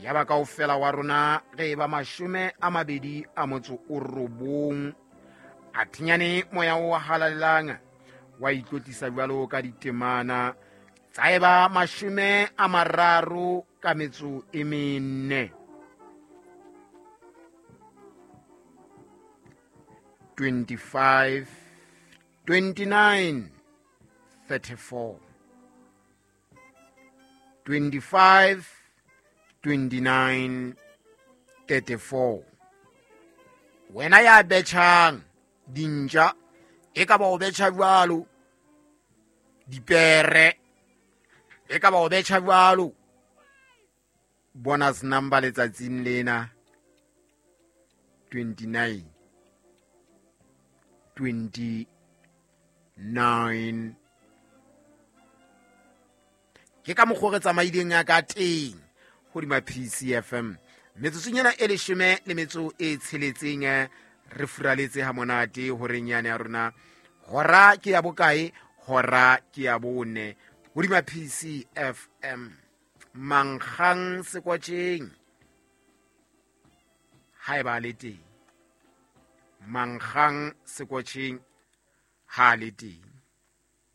Ya ba kaofela wa rona re eba 29. A thinyane moya o halalelang wa itlotlisa jwalo ka ditemana tsa eba 34. 25 29 34 25 29 34. Wena ya betjhang dintja, e ka ba o betjha jwalo dipere, e ka ba o betjha jwalo bonus number letsatsing lena 29 29. Ke ka mokgwa re tsamaileng ya ka teng hodima PCFM. Metsotsong ena e 16 re furaletse ha monate horeng yane ya rona. Hora ke ya bokae? Hora ke ya 4 hodima PCFM. Mankgang sekwatjeng ha e ba le teng. Mankgang sekwatjeng ha le teng.